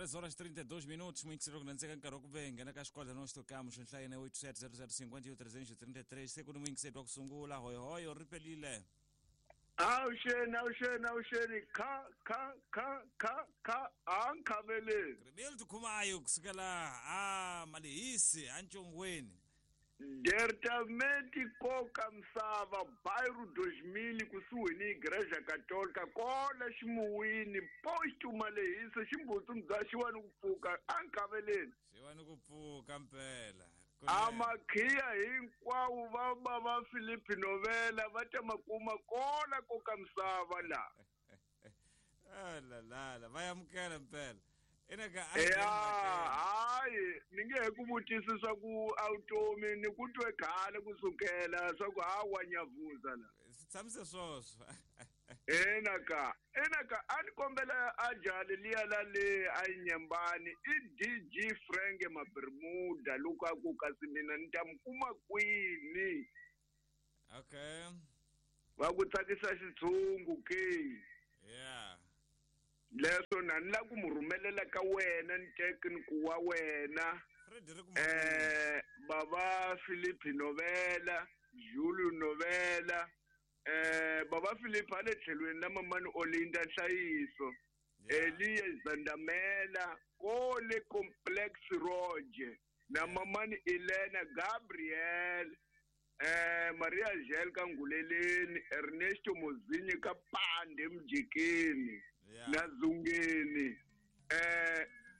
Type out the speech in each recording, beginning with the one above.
3 horas 32 minutos, muito cedo nantseka nkarhi wa ku ve hi nghena ka xikwala no xitokamu xo nhlayene 8700 333 se ku ni muyingiseri wa ku sungula hoyohoyo ri pelile. Awuxeni, awuxeni, awuxeni, kha kha kha kha kha a nkhaveleni. Rebelo Khumayo kusukela a Malehisi a Ncongweni. Departamento koka misava bairro 2000 kusuhi ni Igreja Católica kola ximuwini posto Malehisi ximbutsu mudzaxiwa ni ku pfuka a nkhaveleni. Xiwa ni ku pfuka mpela. Amakhiya hinkwawo va va va Philip Novela va ta makuma kola koka misava la. La la la va amukela mpela. Ina ka Ya hayi ni nge he ku vutisi swa ku awutomi ni ku twe khale kusukela swa ku hawa nyavuza la. Swi tshamise swoswo. Ina ka ina ka a ni kombela a jali liya la le a yi nyembani i DG Frank Mabermuda loko a ku kasi mina ni ta mi kuma kwini. Okay. Va ku tsakisa xitshungu ke. Yeah. Leswo na ni la ku mu rhumelela ka wena ni tekniku wa wena. Frederick Baba Philip Novela, Julio Novela, baba Philip a le tlhelweni la mamani Olinda Nhlayiso, Eliya Zandamela, kole Complex Roger, na mamani Elena Gabriel, Maria Angel ka Nguleleni, Ernesto Mozinyi ka Pande Mjikeni, na Zungeni.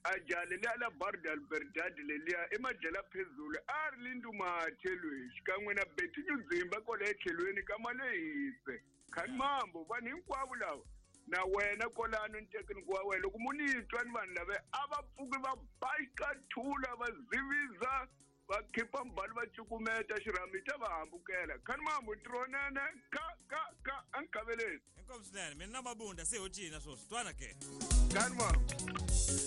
Ajali liya la Bar de Albertad leliya i madyela phezulu a ri lindumathe loyi xikan'we na Betty Nyudzimba kwala etlhelweni ka Malehise khani mambo vanhu hinkwavo lava na wena kolano ni tekniku wa wena loko mu ni twa ni vanhu lava a va pfuki va baxikathula va ziviza va khipa mbali va cukumeta xirhami ta va hambukela khani mambo ntirhonene ka ka ka a nkhaveleni. Inkomu swinene mina na Mabunda se ho cina swoswi twana ke. Khani mambo.